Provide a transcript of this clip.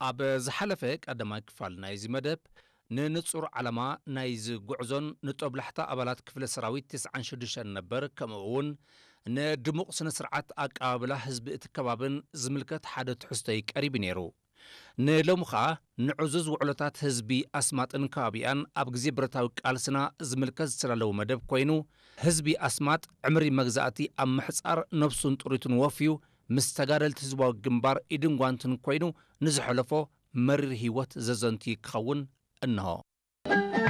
ኣብ ዝሓለፈ ቀዳማይ ክፋል ናይዚ መደብ፣ ንንጹር ዓላማ ናይዚ ጉዕዞን ንጦብላሕታ ኣባላት ክፍለ ሰራዊት ተስዓን ሽዱሽተን ነበር፣ ከምኡ እውን ንድሙቕ ስነ ስርዓት ኣቀባብላ ህዝቢ እቲ ከባብን ዝምልከት ሓደ ትሕዝቶይ ቀሪቡ ነይሩ። ንሎሚ ኸኣ ንዕዙዝ ውዕሎታት ህዝቢ ኣስማጥን ከባቢኣን ኣብ ግዜ ብረታዊ ቃልስና ዝምልከት ዝተዳለወ መደብ ኮይኑ፣ ህዝቢ ኣስማጥ ዕምሪ መግዛእቲ ኣብ ምሕጻር ነብሱን ጥሪቱን ወፍዩ ምስ ተጋደልቲ ህዝባዊ ግንባር ኢድን ጓንትን ኮይኑ ንዝሐለፎ መሪር ህይወት ዘዘንቱ ክኸውን እንሆ።